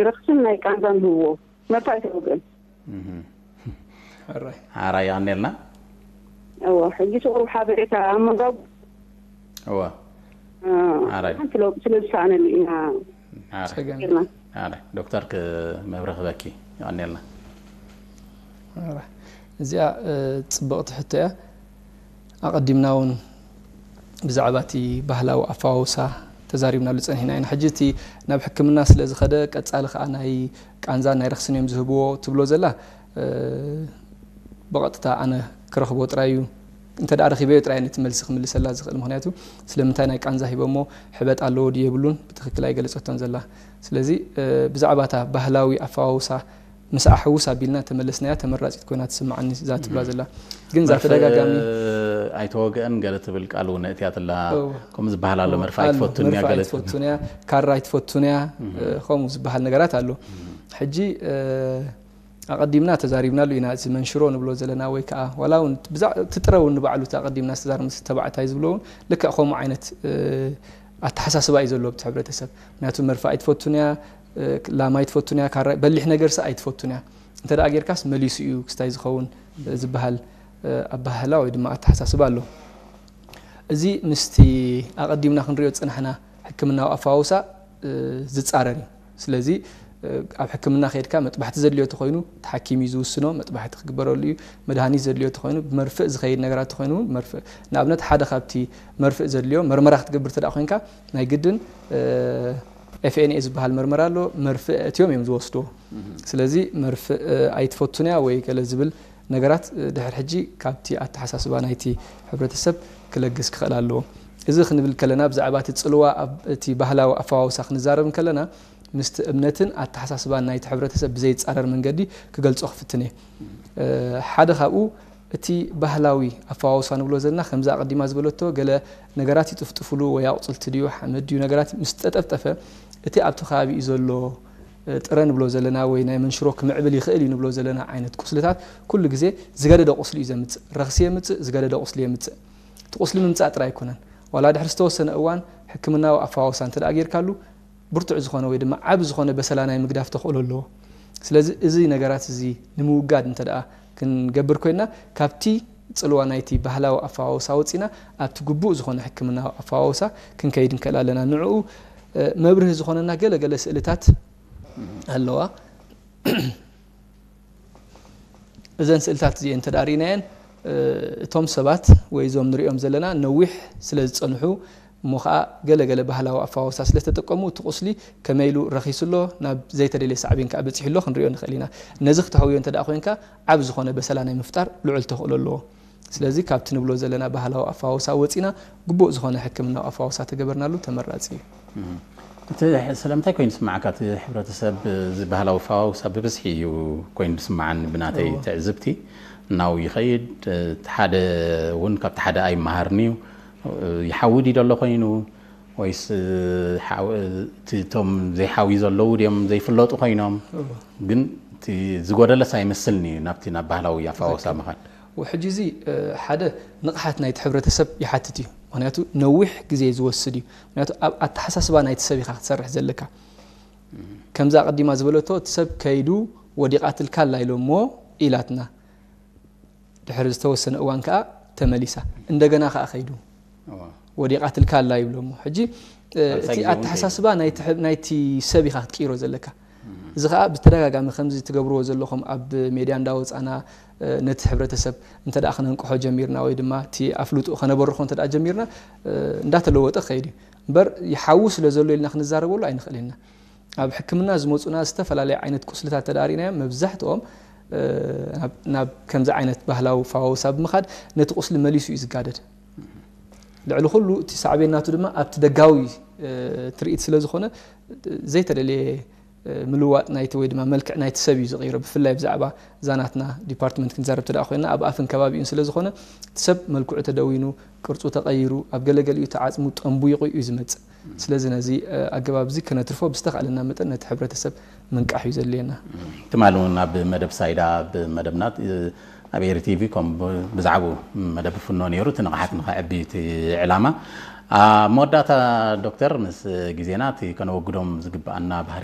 ረኽስን ናይ ቃንዛን ዝህብዎ መርፋ ኣይተወግአን። ሕራይ ኣኔልና። እዎ፣ ሕጂ ሽቕሩ ሓበሬታ ኣብ መጋቡ እዎ። ሓራይ ሓንቲ ለውጥ ስለ ዝሰኣነሉ ኢና ጸገም። ጌርና። ዶክተር መብርህ ክበኪ። ኣኔልና። እዚኣ ጽብቕቲ ሕቶ እያ። ኣቐዲምና እውን ብዛዕባ እቲ ባህላዊ ኣፈዋውሳ ተዛሪብናሉ ጸኒሕና ኢና። ሕጂ እቲ ናብ ሕክምና ስለ ዝኸደ ቀጻሊ ከኣ ናይ ቃንዛን ናይ ረኽስን እዮም ዝህብዎ ትብሎ ዘላ፣ ብቐጥታ ኣነ ክረኽቦ ጥራይ እዩ። እንተ ደኣ ረኺበዮ ጥራይ ነቲ መልሲ ክምልሰላ ዝኽእል። ምኽንያቱ ስለምንታይ ናይ ቃንዛ ሂበሞ፣ ሕበጥ ኣለዎ ድዩ የብሉን ብትኽክል ኣይገለጸቶን ዘላ። ስለዚ ብዛዕባ እታ ባህላዊ ኣፈዋውሳ ምስ ኣሕውስ ኣቢልና ተመለስናያ ተመራጺት ኮይና ትስምዓኒ እዛ ትብላ ዘላ። ግን እዛ ተደጋጋሚ ኣይተወግአን ገለ ትብል ቃል እውን እትያትላ። ከምኡ ዝበሃል ኣሎ፣ መርፍእ ኣይትፈቱን እያ፣ ገለ ትፈቱን እያ፣ ካራ ኣይትፈቱን እያ፣ ከምኡ ዝበሃል ነገራት ኣሎ። ሕጂ ኣቐዲምና ተዛሪብናሉ ኢና። እዚ መንሽሮ ንብሎ ዘለና ወይ ከዓ ዋላ እውን ትጥረ እውን ንባዕሉ ኣቐዲምና ዝተዛርምስ ተባዕታይ ዝብሎ እውን ልክዕ ከምኡ ዓይነት ኣተሓሳስባ እዩ ዘሎ ኣብቲ ሕብረተሰብ። ምክንያቱ መርፍእ ኣይትፈቱን እያ፣ ላማ ኣይትፈቱን እያ፣ ካራ በሊሕ ነገር ሳ ኣይትፈቱን እያ። እንተ ደኣ ጌርካስ መሊሱ እዩ ክስታይ ዝኸውን ዝበሃል ኣባህላ ወይ ድማ ኣተሓሳስባ ኣሎ። እዚ ምስቲ ኣቐዲምና ክንሪኦ ዝጸናሕና ሕክምናዊ ኣፈዋውሳ ዝጻረር እዩ። ስለዚ ኣብ ሕክምና ከይድካ መጥባሕቲ ዘድልዮ ተኾይኑ እቲ ሓኪም እዩ ዝውስኖ፣ መጥባሕቲ ክግበረሉ እዩ። መድሃኒት ዘድልዮ ተኾይኑ ብመርፍእ ዝኸይድ ነገራት ተኾይኑ እውን መርፍእ፣ ንኣብነት ሓደ ካብቲ መርፍእ ዘድልዮ መርመራ ክትገብር ተደኣ ኮይንካ ናይ ግድን ኤፍኤንኤ ዝበሃል መርመራ ኣሎ፣ መርፍእ እትዮም እዮም ዝወስድዎ። ስለዚ መርፍእ ኣይትፈቱን እያ ወይ ገለ ዝብል ነገራት ድሕር ሕጂ ካብቲ ኣተሓሳስባ ናይቲ ሕብረተሰብ ክለግስ ክኽእል ኣለዎ። እዚ ክንብል ከለና ብዛዕባ እቲ ጽልዋ ኣብ እቲ ባህላዊ ኣፈዋውሳ ክንዛረብ እንከለና ምስቲ እምነትን ኣተሓሳስባን ናይቲ ሕብረተሰብ ብዘይጻረር መንገዲ ክገልጾ ክፍትን እየ። ሓደ ካብኡ እቲ ባህላዊ ኣፈዋውሳ ንብሎ ዘለና ከምዛ ኣቐዲማ ዝበለቶ ገለ ነገራት ይጥፍጥፍሉ ወይ ኣቑጽልቲ ድዩ ሓመድ ድዩ ነገራት ምስ ጠጠፍጠፈ እቲ ኣብቲ ከባቢኡ ዘሎ ጥረ ንብሎ ዘለና ወይ ናይ መንሽሮ ክምዕብል ይኽእል እዩ ንብሎ ዘለና ዓይነት ቁስልታት ኩሉ ግዜ ዝገደደ ቁስሊ እዩ ዘምጽእ። ረኽሲ የምጽእ፣ ዝገደደ ቁስሊ የምጽእ። እቲ ቁስሊ ምምጻእ ጥራይ ኣይኮነን። ዋላ ድሕሪ ዝተወሰነ እዋን ሕክምናዊ ኣፈዋውሳ እንተ ደኣ ጌርካሉ ብርቱዕ ዝኾነ ወይ ድማ ዓቢ ዝኾነ በሰላ ናይ ምግዳፍ ተኽእሎ ኣለዎ። ስለዚ እዚ ነገራት እዚ ንምውጋድ እንተ ደኣ ክንገብር ኮይንና ካብቲ ጽልዋ ናይቲ ባህላዊ ኣፈዋውሳ ወጺና ኣብቲ ግቡእ ዝኾነ ሕክምናዊ ኣፈዋውሳ ክንከይድ ንክእል ኣለና። ንዕኡ መብርሂ ዝኾነና ገለ ገለ ስእልታት ኣለዋ። እዘን ስእልታት እዚኤን እንተ ርኢናየን እቶም ሰባት ወይ እዞም ንሪኦም ዘለና ነዊሕ ስለ ዝፀንሑ እሞ ከዓ ገለ ገለ ባህላዊ ኣፈዋውሳ ስለ ተጠቀሙ እቲ ቁስሊ ከመይ ኢሉ ረኺሱ ኣሎ ናብ ዘይተደልየ ሳዕቤን ከዓ በፂሑ ኣሎ ክንሪኦ ንኽእል ኢና። ነዚ ክተሕውዮ እንተ ኮይንካ ዓብ ዝኾነ በሰላ ናይ ምፍጣር ልዑል ተኽእሎ ኣለዎ። ስለዚ ካብቲ ንብሎ ዘለና ባህላዊ ኣፈዋውሳ ወፂና ግቡእ ዝኾነ ሕክምናዊ ኣፈዋውሳ ተገበርናሉ ተመራፂ እዩ። እቲ ስለምንታይ ኮይኑ ዝስምዓካ? እቲ ሕብረተሰብ እዚ ባህላዊ ኣፈዋውሳ ብብዝሒ እዩ ኮይኑ ዝስምዓኒ ብናተይ ትዕዝብቲ። እናው ይኸይድ። እቲ ሓደ እውን ካብቲ ሓደ ኣይመሃርን እዩ። ይሓዊ ድዩ ዘሎ ኮይኑ ወይስ እቶም ዘይሓዊ ዘለዉ ድዮም ዘይፍለጡ ኮይኖም? ግን እቲ ዝጎደለስ ኣይመስልኒ እዩ ናብቲ ናብ ባህላዊ ኣፈዋውሳ ምኻድ። ሕጂ እዚ ሓደ ንቕሓት ናይቲ ሕብረተሰብ ይሓትት እዩ። ምክንያቱ ነዊሕ ግዜ ዝወስድ እዩ። ምክንያቱ ኣብ ኣተሓሳስባ ናይቲ ሰብ ኢኻ ክትሰርሕ ዘለካ። ከምዛ ኣቐዲማ ዝበለቶ እቲ ሰብ ከይዱ ወዲቓትልካ ኣላ ኢሎሞ ኢላትና። ድሕሪ ዝተወሰነ እዋን ከዓ ተመሊሳ እንደገና ከዓ ከይዱ ወዲቓትልካ ኣላ ይብሎሞ። ሕጂ እቲ ኣተሓሳስባ ናይቲ ሰብ ኢኻ ክትቅይሮ ዘለካ። እዚ ከዓ ብተደጋጋሚ ከምዚ ትገብርዎ ዘለኹም ኣብ ሜድያ እንዳወፃና ነቲ ሕብረተሰብ እንተ ደኣ ክነንቅሖ ጀሚርና ወይ ድማ እቲ ኣፍልጦ ከነበርኾ እንተ ደኣ ጀሚርና እንዳተለወጠ ክኸይድ እዩ። እምበር ይሓዊ ስለ ዘሎ ኢልና ክንዛረበሉ ኣይንኽእል ኢና። ኣብ ሕክምና ዝመፁና ዝተፈላለዩ ዓይነት ቁስልታት ተዳሪናዮም መብዛሕትኦም ናብ ከምዚ ዓይነት ባህላዊ ፈዋውሳ ብምኻድ ነቲ ቁስሊ መሊሱ እዩ ዝጋደድ። ልዕሊ ኩሉ እቲ ሳዕቤን ናቱ ድማ ኣብቲ ደጋዊ ትርኢት ስለ ዝኾነ ዘይተደልየ ምልዋጥ ናይቲ ወይ ድማ መልክዕ ናይቲ ሰብ እዩ ዝቕይሮ። ብፍላይ ብዛዕባ እዛ ናትና ዲፓርትመንት ክንዛረብ ተደኣ ኮይና ኣብ ኣፍን ከባቢኡን ስለ ዝኾነ እቲ ሰብ መልክዑ ተደዊኑ ቅርፁ ተቐይሩ ኣብ ገለገሊኡ እቲ ዓፅሙ ጠንቡይቑ እዩ ዝመፅእ። ስለዚ ነዚ ኣገባብ እዚ ከነትርፎ ብዝተኻእለና መጠን ነቲ ሕብረተሰብ ምንቃሕ እዩ ዘድልየና። ትማሊ እውን ኣብ መደብ ሳይዳ ኣብ መደብና ኣብ ኤሪ ቲቪ ከም ብዛዕባኡ መደብ ፍኖ ነይሩ እቲ ንቕሓት ንኸዕቢ እቲ ዕላማ። ኣብ መወዳእታ ዶክተር ምስ ግዜና እቲ ከነወግዶም ዝግብኣና ባህርያት